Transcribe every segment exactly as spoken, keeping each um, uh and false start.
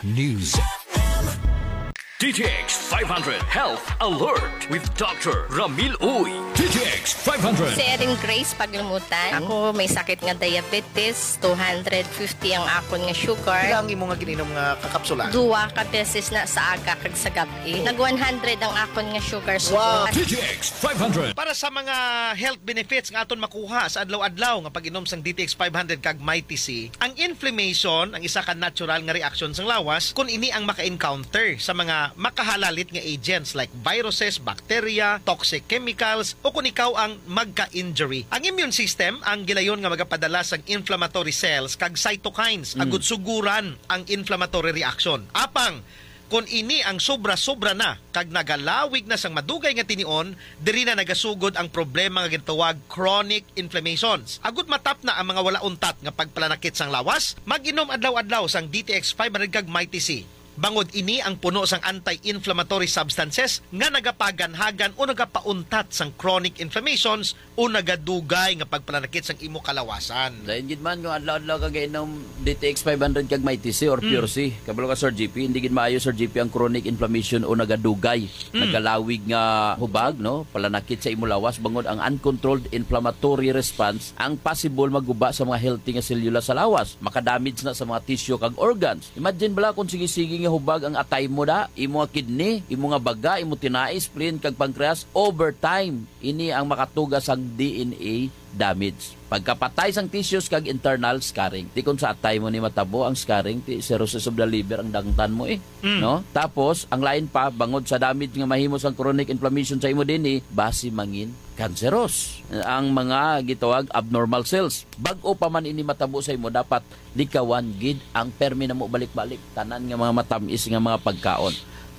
News. D T X five hundred Health Alert with Doctor Ramil Uy. D T X five hundred. Si Erin Grace Paglumutan. Ako may sakit nga diabetes, two hundred fifty ang akon nga sugar. Pila ang imo nga gininom nga kakapsula? Duwa ka beses na sa aga kag sa gab-i. Nag one hundred ang akon nga sugar. Wow. Sugar. D T X five hundred. Para sa mga health benefits nga aton makuha sa adlaw-adlaw nga pag-inom sang D T X five hundred kag Mighty C, ang inflammation ang isa ka natural nga reaksyon sang lawas kon ini ang maka-encounter sa mga makahalalit nga agents like viruses, bacteria, toxic chemicals, o kon ikaw ang magka-injury. Ang immune system ang gilayon nga magapadala sang inflammatory cells kag cytokines agud suguran ang inflammatory reaction. Apang kon ini ang sobra-sobra na kag nagalawig na sang madugay nga tinion, diri na nagasugod ang problema nga ginatawag chronic inflammations. Agud matapna ang mga wala untat nga pagpalanakit sang lawas, mag-inom adlaw-adlaw sang D T X five hundred kag Mighty C. Bangod ini ang puno sang anti-inflammatory substances nga nagapaganhagan o nagapauntat sang chronic inflammations o nagadugay nga pagpalanakit sang imo kalawasan. Dayon gid man nga adlaw-adlaw ka gainom D T X five hundred kag Mighty C or Pure C. Kabalo ka, Sir G P, hindi gid maayo, Sir G P, ang chronic inflammation o nagadugay, nagalawig nga hubag, no? Palanakit sa imo lawas, bangod ang uncontrolled inflammatory response ang possible maguba sa mga healthy nga selula sa lawas. Makadamage na sa mga tissue kag organs. Imagine bala kung sige-sige nga hubag ang atay mo da, imo nga kidney, imo nga baga, imo tinai, spleen, kag pancreas, over time, ini ang makatuga sang D N A damage. Pagkapatay sang tissues kag internal scarring. Ti kon sa atay mo ni matabo ang scarring, ti cirrhosis of the liver ang dangtan mo eh. Mm. No? Tapos, ang lain pa, bangod sa damage nga mahimo sang chronic inflammation sa imo dinhi, basi mangin cancerous ang mga gitawag abnormal cells. Bag-o pa man ini matabo sa imo, dapat likawan gid ang permi namo balik-balik, tanan nga mga matamis nga mga pagkaon.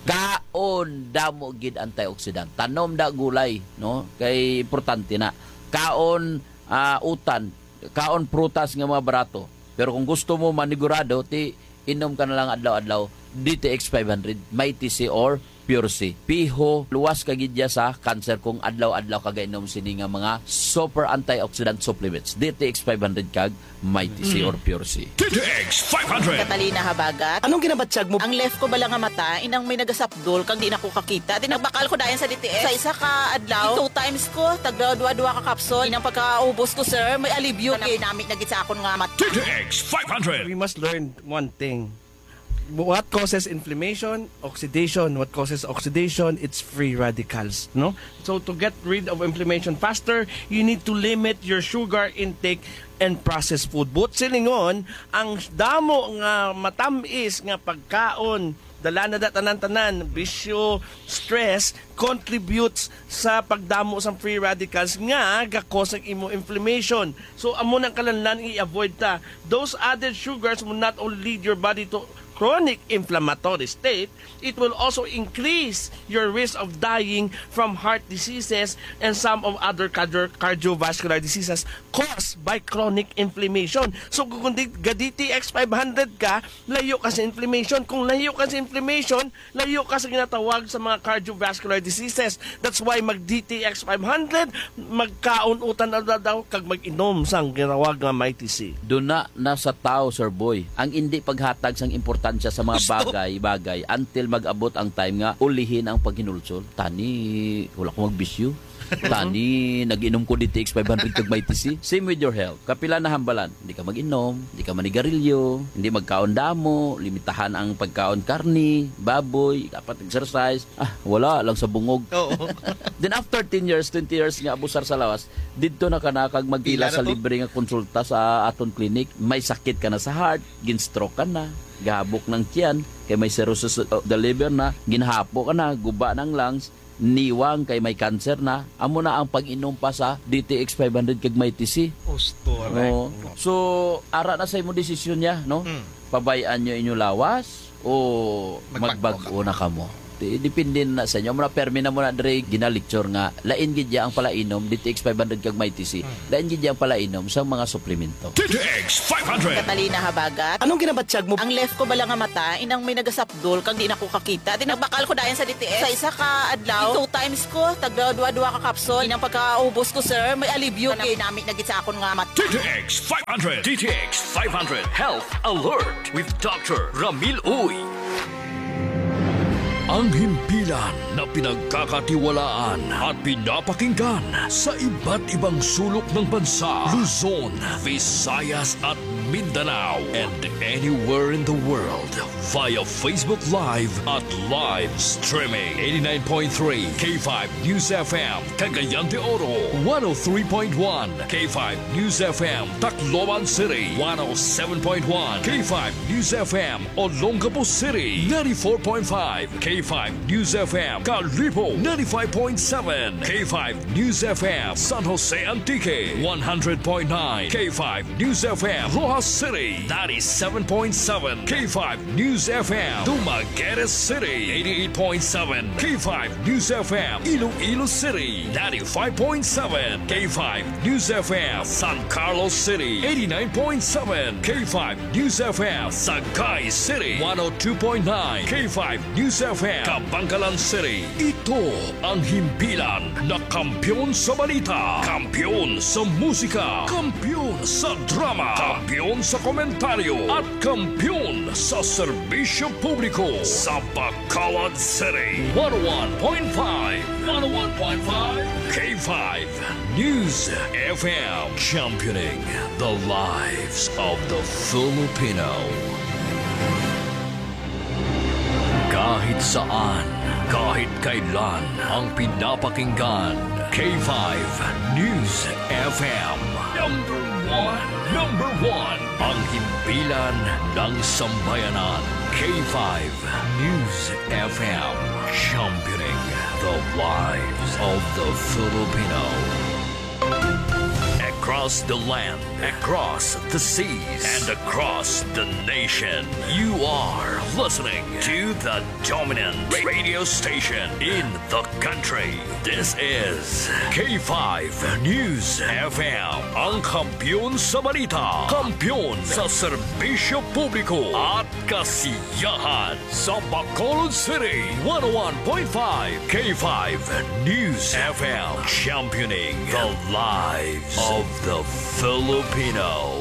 Kaon damo gid antioxidant. Tanom da gulay, no? Kay importante na. Kaon, ah, utan, kaon prutas nga mga barato. Pero kung gusto mo manigurado, ti inom ka na lang adlaw-adlaw D T X five hundred, Mighty C or Pure C. Piho, luwas ka gid ya sa cancer kung adlaw-adlaw ka gainom sini nga mga super antioxidant supplements, D T X five hundred kag Mighty C Mm. or Pure C. D T X five hundred. Catalina Habagat. Anong ginabatyag mo? Ang left ko bala nga mata, inang may nagasapdol, kag di na ko kakita. Di nagbakal ko dayon sa D T X. Sa isa ka adlaw, two times ko, tagda dua-dua ka kapsul. Inang pagkaubos ko, sir, may alibyo. Kanang ginamit na gid sa akon nga mata. D T X five hundred. We must learn one thing. What causes inflammation? Oxidation. What causes oxidation? It's free radicals, no? So to get rid of inflammation faster, you need to limit your sugar intake and processed food. But silingon, ang damo nga matamis nga pagkaon, dala na da tanan-tanan, bisyo, stress, contributes sa pagdamo sang free radicals nga ga-cause ang imo inflammation. So, amo nang kalanlan i-avoid ta. Those added sugars will not only lead your body to chronic inflammatory state, it will also increase your risk of dying from heart diseases and some of other cardio-, cardiovascular diseases caused by chronic inflammation. So, kung di-, ga D T X five hundred ka, layo ka sa inflammation. Kung layo ka sa inflammation, layo ka sa ginatawag sa mga cardiovascular diseases. That's why mag D T X five hundred, magkaon utan adlaw-adlaw, kag mag-inom sang ginatawag nga Mighty C. Duna na sa tao, Sir Boy, ang indi paghatag sang importansya sa mga Gusto. bagay-bagay until mag-abot ang time nga ulihin ang paghinulsol. Tani, wala ko magbisyo. Tani, nag-inom ko D T X five hundred kag Mighty C. Same with your health. Kapila na hambalan? Hindi ka mag-inom, hindi ka manigarilyo, hindi magkaon damo, limitahan ang pagkaon karni, baboy, dapat exercise. Ah, wala lang sa bungog. Oo. Then after ten years, twenty years nga abusar sa lawas, didto na ka na kag magpila Pila na sa to? libre nga konsulta sa aton clinic. May sakit ka na sa heart, gin-stroke ka na, gahabok ng tiyan, kay may cirrhosis of the liver na, ginhapo ka na, guba ng lungs, niwang kay may cancer na, amo na ang pag-inom pa sa D T X five hundred kag Mighty C. Gusto, Oo. right? So, ara na sa imo desisyon niya, no? Mm. Pabayaan niyo inyo lawas o Magbag-o magbag-o ka. na kamo? Di-, depende na sa inyo. Mura permi na mo na dire ginalecture nga lain gid ya ang palainom, D T X five hundred kag Mighty C. Hmm. Lain gid ya ang palainom sa mga suplemento. D T X five hundred. Catalina Habagat. Anong ginabatyag mo? Ang left ko bala nga mata, inang may nagasapdol, kag di na ko kakita. Di nagbakal ko dayon sa D T X. Sa isa ka adlaw, two times ko, tagda duha-duha ka capsule. Inang pagkaubos ko, sir, may alibyo. Kanang ginamit na gid sa akon nga mata. D T X five hundred. D T X five hundred Health Alert with Doctor Ramil Uy. Ang himpilan na pinagkakatiwalaan at pinapakinggan sa iba't ibang sulok ng bansa, Luzon, Visayas at Mindanao, and anywhere in the world via Facebook Live at live streaming. Eighty-nine point three K five News F M, Cagayan de Oro, one oh three point one K five News F M, Tacloban City, one oh seven point one K five News F M, Olongapo City, ninety-four point five K five News F M, Kalibo, ninety-five point seven K five News F M, San Jose Antique, one hundred point nine K five News F M, Roxas City, ninety-seven point seven K five News F M, Dumaguete City, eighty-eight point seven K five News F M, Iloilo City, ninety-five point seven K five News F M, San Carlos City, eighty-nine point seven K five News F M, Sagay City, one oh two point nine K five News F M, Kabankalan City. Ito ang himpilan na kampiyon sa balita, kampiyon sa musika, kampiyon sa drama, kampiyon sa komentaryo, at kampiyon sa serbisyo publiko sa Bacolod City. One oh one point five, one oh one point five K five News F M, championing the lives of the Filipino. Kahit saan, kahit kailan, ang pinapakinggan, K five News F M. Number one, number one, ang himpilan ng sambayanan, K five News F M, championing the lives of the Filipino. Across the land, across the seas, and across the nation, you are listening to the dominant radio station in the country. This is K five News F M, ang kampiyon sa balita, kampiyon sa serbisyo publiko at kasiyahan. Sa Bacolod City, one oh one point five K five News F M, championing the lives of the Filipino.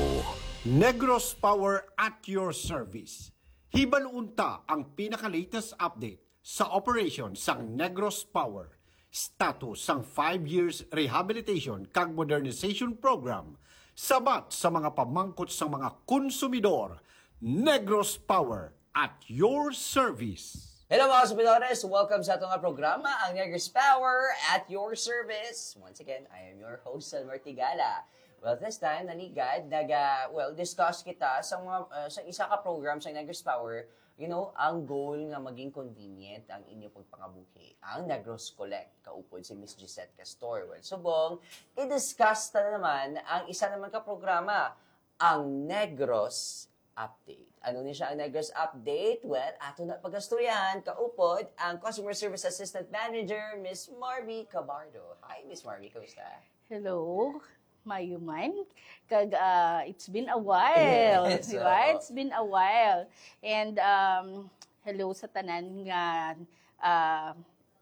Negros Power at your service. Hibaluon ta ang pinaka-latest update sa operation sang Negros Power, status sang five years rehabilitation kag modernization program, sabat sa mga pamangkot sang mga konsumidor. Negros Power at your service. Hello, mga konsumidores! Welcome sa ato nga programa, ang Negros Power at your service. Once again, I am your host, Selmer Tigala. Well, this time, naligad, naga, well, discuss kita sa mga, uh, sa isa ka program sa Negros Power, you know, ang goal nga maging convenient ang inyo pagpangabuhi, ang Negros Collect, kaupod si Miss Gisette Castor. Well, subong, i-discuss ta na naman ang isa naman ka programa, ang Negros Update. Ano ni siya ang Negros Update? Well, ato na pagastoryahan, kaupod ang Customer Service Assistant Manager, Miss Marby Cabardo. Hi, Miss Marby, kamusta? Hello, maayo man. Kag, ah, it's been a while, yes, di ba? Oo. It's been a while. And, um, hello sa tanan nga, ah,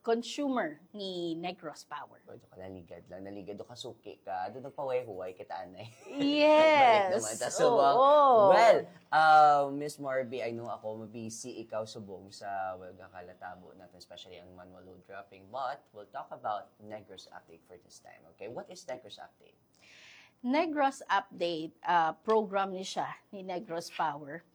consumer ni Negros Power. Pwede ka naligad lang, naligad o kasuki ka, doon nagpahuway-huway kita, anay. Yes. Balik naman ta subong. Oo. Well, uh, Miss Marby, I know ako, mabisi ikaw subong sa, well, nga kalatabo natin, especially ang manual load dropping. But we'll talk about Negros Update for this time, okay? What is Negros Update? Negros Update, ah, program ni siya, ni Negros Power,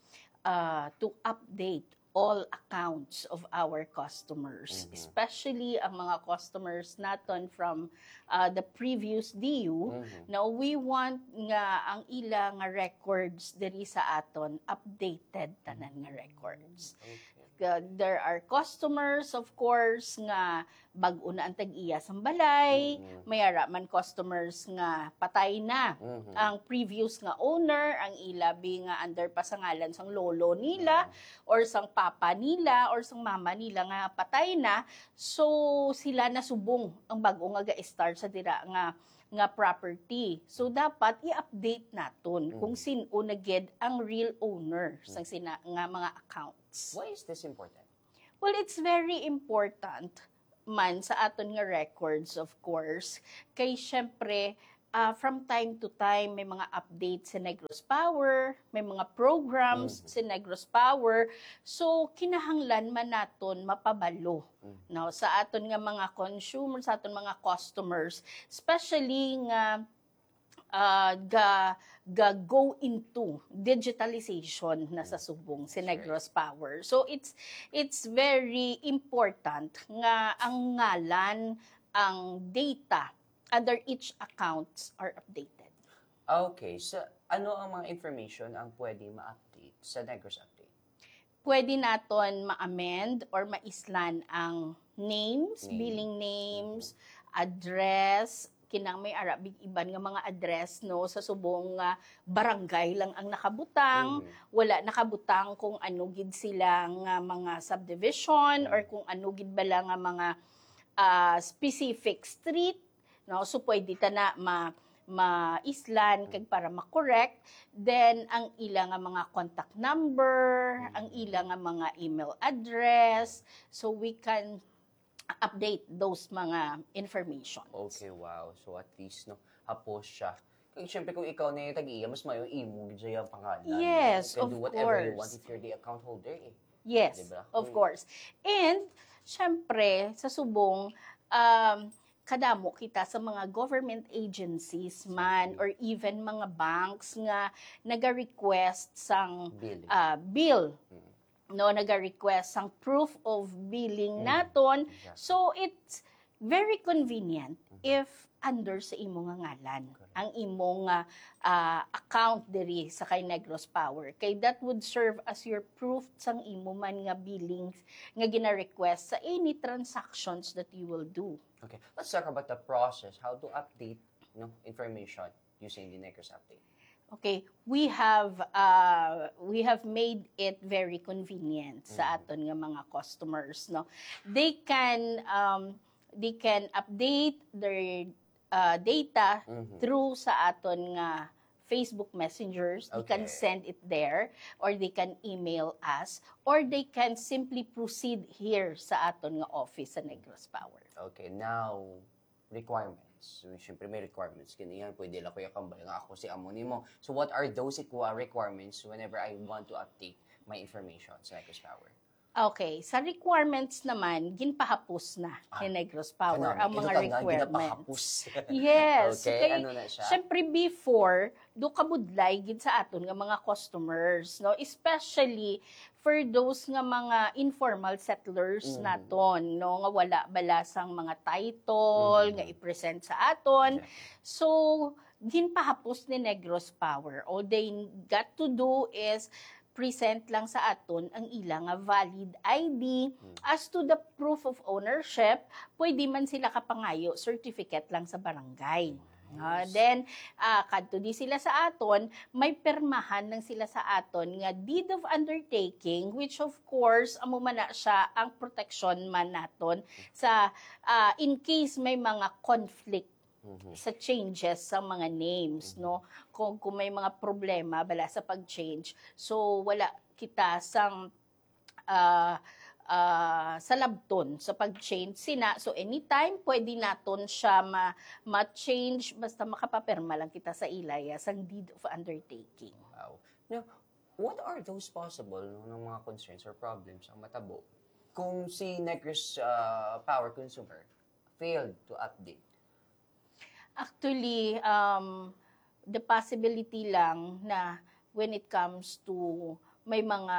ah, to update all accounts of our customers, mhm, especially ang mga customers naton from, ah, the previous D U. Mhm. Now, we want nga ang ila nga records diri sa aton updated tanan nga records. Okay. Uh, there are customers, of course, nga bag-o na ang tag-iya sang balay, Mm. may ara man customers nga patay na. Mhm. Ang previous nga owner, ang ila bi nga under pa sa ngalan sang lolo nila, or sang papa nila, or sang mama nila nga patay na, so sila na subong ang bag-o nga ga-start sa dira nga nga property. So dapat i-update naton kung Mhm. sin-o na gid ang real owner sang sina nga mga accounts. Why is this important? Well, it's very important man sa aton nga records, of course. Kay syempre, ah, from time to time, may mga updates sa Negros Power, may mga programs Mhm. sa Negros Power. So, kinahanglan man naton mapabalo, Mhm. no, sa aton nga mga consumers, sa aton mga customers, especially nga ah, ga ga go into digitalization na sa subong si That's right. Negros Power. So it's it's very important nga ang ngalan, ang data under each accounts are updated. Okay, so ano ang mga information ang pwede ma-update sa Negros Update? Pwede naton ma-amend or maislan ang names, Name. billing names, address, kinang may ara big iban nga mga address, no, sa subong nga barangay lang ang nakabutang, Mhm. wala nakabutang kung ano gid sila nga mga subdivision Mm. or kung ano gid bala nga mga ah, specific street, no? So pwede ta na ma maislan kag para ma-correct. Then ang ila nga mga contact number, ang ila nga mga email address, so we can update those mga information. Okay, wow. So at least, no, hapos siya. Kaya syempre kung ikaw na yung tag-iya, mas mayo imo gid siya ang pangalan. Yes, You can of do whatever you course. want if you're the account holder eh. Yes, Diba? of Mm. course. And syempre, sa subong, um, kadamo kita sa mga government agencies man Exactly. or even mga banks nga naga-request sang Billing. ah, bill, Mm. no, naga-request sang proof of billing Mm. naton. Exactly. So it's very convenient Mhm. if under sa imo nga ngalan Correct. ang imo nga ah, account diri sa kay Negros Power, kay that would serve as your proof sang imo man nga billings nga gina-request sa any transactions that you will do. Okay, let's talk about the process, how to update, no, information using the Negros Update. Okay, we have uh, we have made it very convenient sa Mhm. aton nga mga customers, no. They can um they can update their uh, data Mhm. through sa aton nga Facebook Messengers. They can Okay. send it there, or they can email us, or they can simply proceed here sa aton nga office sa Negros Power. Okay, now, requirements. So, syempre may requirements. Kini yan, pwede lang Kuya Kambal nga ako si amo nimo. So, what are those equa-, requirements whenever I want to update my information sa Negros Power? Okay, sa requirements naman, ginpahapos na Ah, ni Negros Power Kanami, ang ito mga ka nga, requirements. ginapahapos. Yes, Okay, kay ano na siya? Syempre before, do kabudlay gid sa aton nga mga customers, no? Especially for those nga mga informal settlers Mhm. naton, no, nga wala bala sang mga title Mhm. nga i-present sa aton. Exactly. So, ginpahapos ni Negros Power. All they got to do is present lang sa aton ang ila nga valid I D. Hmm. As to the proof of ownership, pwede man sila kapangayo certificate lang sa barangay. Ah, Nice. Then, ah, kadto di sila sa aton, may pirmahan lang sila sa aton nga deed of undertaking, which of course, amo man na siya ang protection man naton sa, ah, in case may mga conflict Mhm. sa changes sa mga names, Mhm. no? Kung, kung may mga problema bala sa pag-change, so wala kita sang ah, ah, salabton sa pag-change sina. So anytime pwede naton siya ma ma-change basta makapapirma lang kita sa ilaya sang deed of undertaking. Wow. Now, what are those possible, no, ng mga concerns or problems ang matabo kung si Negros, ah, power consumer failed to update? Actually, um, the possibility lang na when it comes to may mga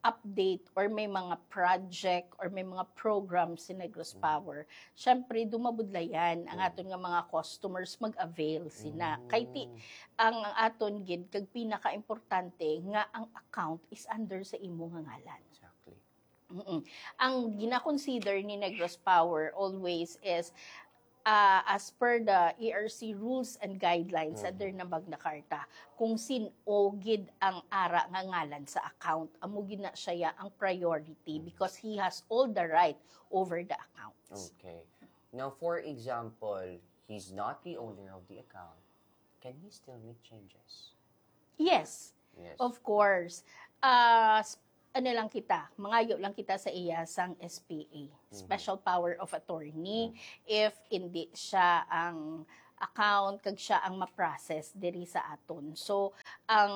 update or may mga project or may mga program si Negros Mm. Power, syempre, dumabudlayan ang Mm. aton nga mga customers mag-avail sina. Kay ti, Mm. ang, ang aton gid, kag pinaka-importante, nga ang account is under sa imo nga ngalan. Exactly. Mm-mm. Ang gina-consider ni Negros Power always is, ah, as per the E R C rules and guidelines under na Magna Carta, kung sin-o gid ang ara nga ngalan sa account, amo gid na siya ang priority because he has all the right over the accounts. Okay. Now, for example, he's not the owner of the account. Can he still make changes? Yes, Yes. Of course. Ah, s- ano lang kita, mangayo lang kita sa iya sang S P A, special power of attorney, if hindi siya ang account kag siya ang ma-process diri sa aton. So, ang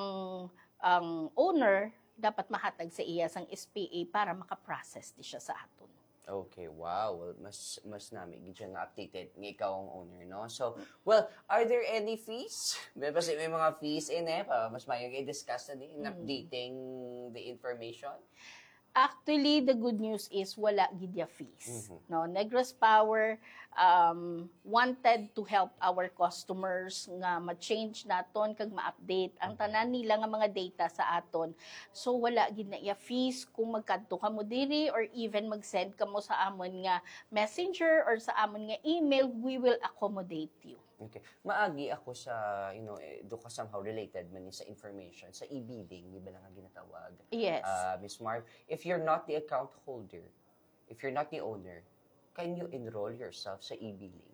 ang owner dapat mahatag sa iya sang S P A para maka-process di siya sa aton. Okay, wow. Well, mas mas nami gid siya nga updated nga ikaw ang owner, no? So, well, are there any fees? May basi may mga fees in eh, pa mas mayo i-discuss na din in updating the information. Actually, the good news is wala gid ya fees. No, Negros Power um, wanted to help our customers nga ma-change naton kag ma-update ang tanan nila nga mga data sa aton. So wala gid na iya fees kung magkadto kamo diri or even mag-send kamo sa amon nga messenger or sa amon nga email, we will accommodate you. Okay. Maagi ako sa, you know, eh, do ka somehow related man ni sa information, sa e-billing, di ba lang nga ginatawag? Yes. Uh, Miss Marv, if you're not the account holder, if you're not the owner, can you enroll yourself sa e-billing?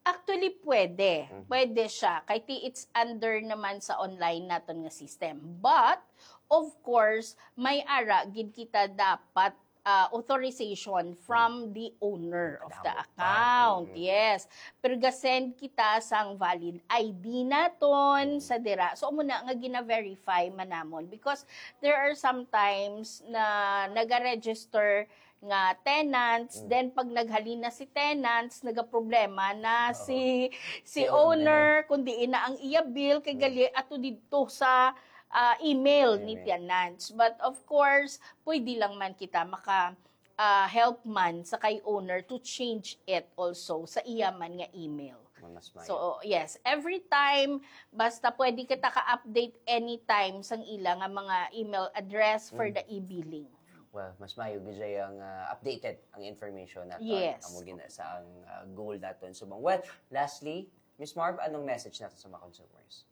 Actually, pwede. Pwede siya. Kay ti it's under naman sa online naton nga system. But, of course, may ara gid kita dapat ah, authorization from the owner of the Kadamo pa. account. Mhm. Yes. Pero ga-send kita sang valid I D naton sa dira. So, amo na nga gina-verify man namon because there are sometimes na naga-register nga tenants, then pag naghalin na si tenants, nagaproblema na si si Si owner, kung diin na ang iya bill, kay gali ato didto sa ah, email ni Email. Tenants. But of course, pwede lang man kita maka ah, help man sa kay owner to change it also sa iya man nga email. Mas mayo. So, yes, every time, basta pwede kita ka-update anytime sang ila nga mga email address for the e-billing. Well, mas mayo gid siya ang ah, updated ang information nato. Yes. Amo gina sa ang ah, goal naton subong. Well, lastly, Miss Marv, anong message nato sa mga consumers?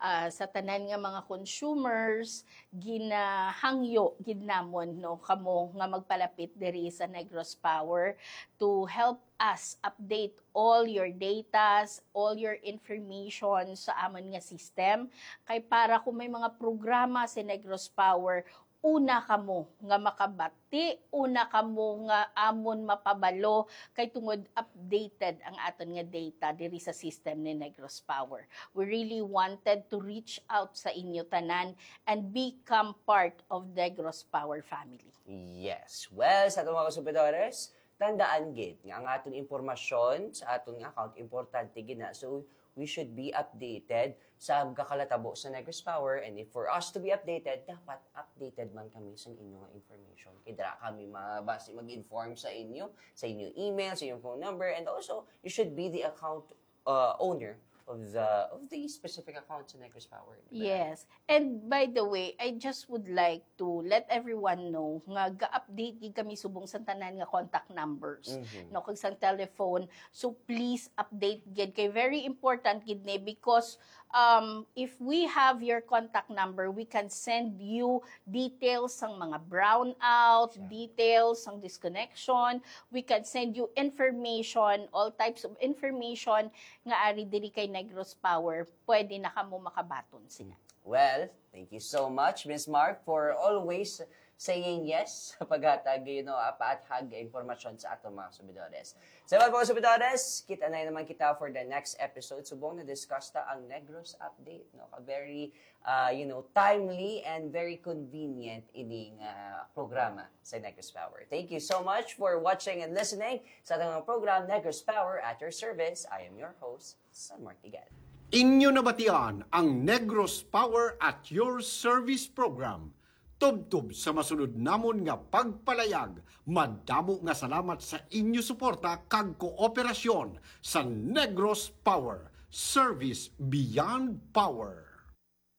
Ah, sa tanan nga mga consumers, ginahangyo gid namon, no, kamo nga magpalapit diri sa Negros Power to help us update all your datas, all your information sa amon nga system. Kay para kung may mga programa si Negros Power, una kamo nga makabati, una kamo nga amon mapabalo, kay tungod updated ang aton nga data diri sa system ni Negros Power. We really wanted to reach out sa inyo tanan and become part of Negros Power family. Yes. Well, sa atong mga konsumidores, tandaan gid nga ang aton impormasyon sa aton nga account importante gid na. So, we should be updated sa gakalatabo sa Negros Power. And if for us to be updated, dapat updated man kami sa inyo nga information. Kay dira kami mabasi mag-inform sa inyo, sa inyo email, sa inyong phone number, and also you should be the account uh, owner of the of the specific account sa Negros Power. Di ba? Yes. And by the way, I just would like to let everyone know nga ga-update gid kami subong sa tanan nga contact numbers, Mhm. no, kag sang telephone. So please update gid kay very important gid ni because um if we have your contact number, we can send you details sang mga brownout, Siya. details sang disconnection. We can send you information, all types of information nga ari diri kay Negros Power. Pwede na kamo makabaton sina. Well, thank you so much, Miss Marv, for always saying yes sa paghatag, you know, ah, paathag nga impormasyon sa aton mga subidores. Sa mga subidores, kita na naman kita for the next episode. Subong na-discuss ta ang Negros Update, no? A very, ah, you know, timely and very convenient ining ah, programa sa Negros Power. Thank you so much for watching and listening sa ating mga program, Negros Power at your service. I am your host, San Martigan. Inyo nabatian ang Negros Power at Your Service Program. Tubtob sa masunod namon nga pagpalayag, madamo nga salamat sa inyo suporta kag kooperasyon sa Negros Power, Service Beyond Power.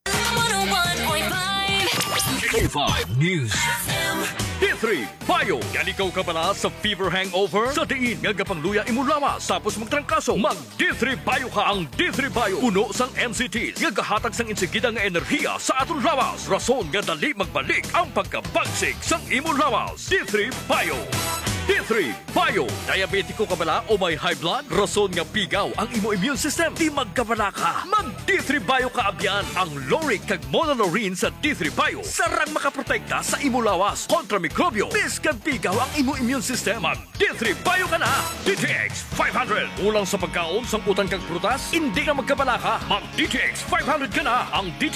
One oh one point five K five News. F M. Hit three Bio. Yan ikaw kabala sa fever hangover? Sa diin nga gapangluya imo lawas tapos magtrangkaso, mag D three Bio ka. Ang D three Bio puno sang N C Ts nga gahatag sang insigida nga enerhiya sa aton lawas, rason nga dali magbalik ang pagkabagsik sang imo lawas. D three Bio. D three Bio. Diabetiko ka bala o may high blood? Rason nga pigaw ang imo immune system? Di magkabala ka. Mag D three Bio ka abyan. Ang lauric kag monolaurin sa D three Bio sarang makaprotekta sa imo lawas kontra mikrobyo. Biskag pigaw ang imo immune system, mag D three Bio ka na. D T X five hundred. Kulang sa pagkaon, sangkutan kag prutas? Hindi na magkabala ka. Mag D T X five hundred ka na. Ang D T